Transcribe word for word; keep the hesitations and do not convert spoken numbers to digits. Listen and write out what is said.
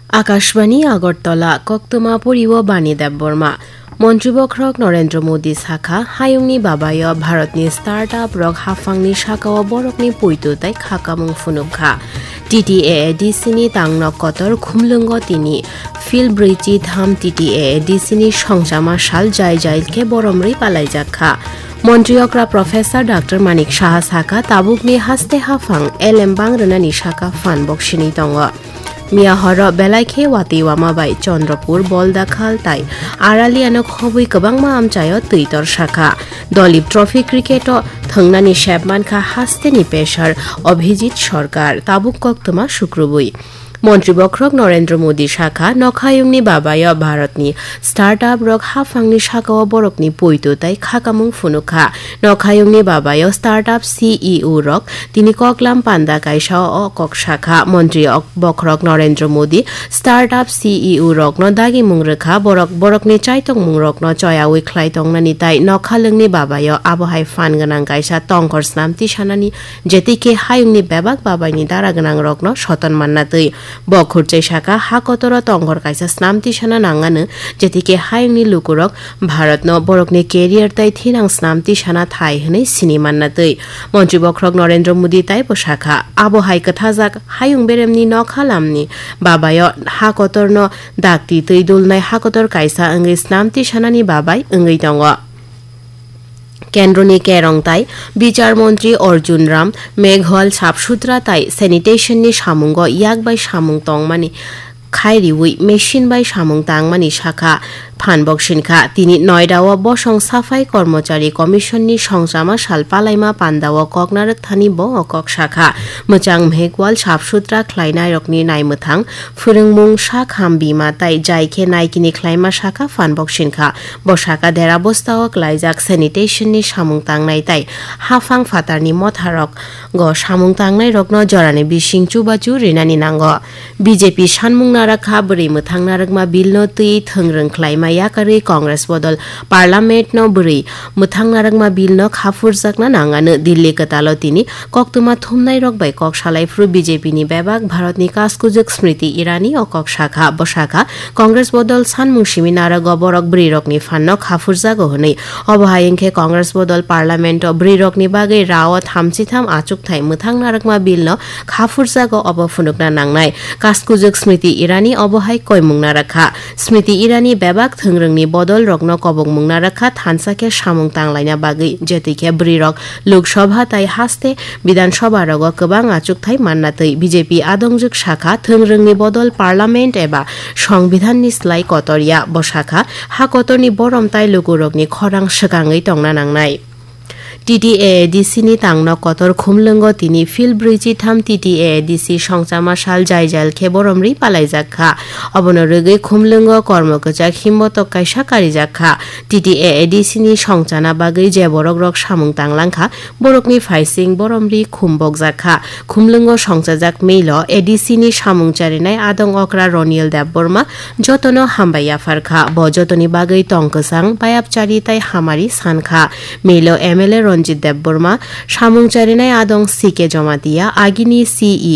Akashbani Agartala, koktwma poriwo Bani Debbarma. Montri bokhorok Narendra Modi sakha, hayungni babayo Bharatni startup rok haphangni sakao borokni poito tei khakamung phunukha. T T A A D C ni tangnok kotor khumlwngo tini. Phil brwichi tham T T A A D C ni songchama sal jai jai khe boromrwi palaijakha. Montri okra Professor Doctor Manik Saha sakha, tabukni haste haphang elem bang rwnani saka phan boksini tongo. Miya horo belai khe watwi wama bai Chandrapur, Boldakhal tai Araliano khobwi kwbangma amchaio twi torsakha. Dolip Trophy cricket-o thwngnani sep mankha hasteni pesar Abhijit Sarkar, tabuk koktwma sukrubwi. Montri bokhorok Narendra Modi sakha, nokhayungni babayo Bharatni startup rok haphangni sakao borokni poito tei khakamung phunukha. Nokhayungni babayo startup C E O rok tini koklam panda kaisa o kok sakha. Montri ok-, bokhorok Narendra Modi startup C E O rokno dagimung rwkha, borok borokni chaitokmung rokno choyawi khlai tongnani tai nokhalwngni babayo abohai phan gwnang kaisa tongkhor snam tisanani, jetikhe hayungni bebak babaini dara gwnang rokno soton manna twi. Bo khurchai saka, ha kotoro tongkhor kaisa snam tisana nangano, jetikhe hayungni lukurok Bharatno borokni career tai thinang snam tisana thai hwnwi sini manna twi. Montri bokhorok Narendra Modi taibo sakha, abo hai kwthajak hayung beremni nokha lamni babayo ha kotorno dakti twi dulnai ha kotor kaisa wngwi snam tisanani babai wngwi tongo. Kendroni kerong tai bichar montri Arjun Ram Meghwal sap sutra tai sanitation ni samungo yak bai samung tongmani khai riwi machine bai samung tangmani sakha phan boksini kha. Tini Noida-o bosong Safai Kormochari Commission ni songchama sal palaima panda-o kok narwk thani bo o kok sakha. Mwchang Meghwal sap sutra khlainai rokni naimwthang phwrwngmung sak ham bima tai jai khe naikini khlaima sakha phan boksini kha. Bo saka dera bostao klaijak sanitation ni samung tangnai tai haphang phatarni motharogo samung tangnai rokno jorani bising chubachu rinani nango. B J P sanmung narakha bwrwi mwthang narwkma bill no twi thwngrwng khlaima yakarwi Congress bodol Parliament no bwrwi mwthang narwkma bill no khaphurjakna nangano. Delhi kwtalo tini koktwma thumnai rok bai kok salai phuru B J P ni bebak Bharat ni kaskujwk Smriti Irani o kok sakha. Bo sakha, Congress bodol sanmung simi narago borok bwrwi rokni phan no khaphurjago hwnwi. Obo hai wngkhe Congress bodol Parliament o bwrwi rokni bagwi rao thamchi tham achukthai mwthang narwkma bill no khaphurjago, obo phunukna nangnai. Kaskujwk Smriti Irani obo hai koimung narakha. Smriti Irani bebak thwngrwngni bodol rokno kobokmung narakha thansa khe samung tanglaina bagwi, jetwi khe bwrwi rok Lok Sabha tai haste Bidhan Sabha rogo kwbang achukthai manna twi. B J P adongjwk sakha, thwngrwngni bodol Parliament eba Songbidhan ni slai kotor ya. Bo sakha, ha kotorni borom tai lukurokni khorang swkangwi tongna nangnai. T T A A D C ni tangno kotor khumlwngo tini Phil brwichi tham T T A A D C songchama sal jai jal khe boromrwi palaijak kha. Obono rwgwi khumlwngo kormo kwchak himbotok kaisa karijak kha. T T A A D C ni songchana bagwi je borok rok samung tanglang kha, borokni phaising boromrwi khum bokjak kha. Khumlwngo songchajak mail o A D C ni samung charinai adong okra Roniel Debbarma jotono hambai yaphar kha. Bo jotoni bagwi tong kwchang, bayapchari tai hamari san kha. Mail o M L A Ranjit Debbarma, samung charinai adong C K Jamatia, agini C E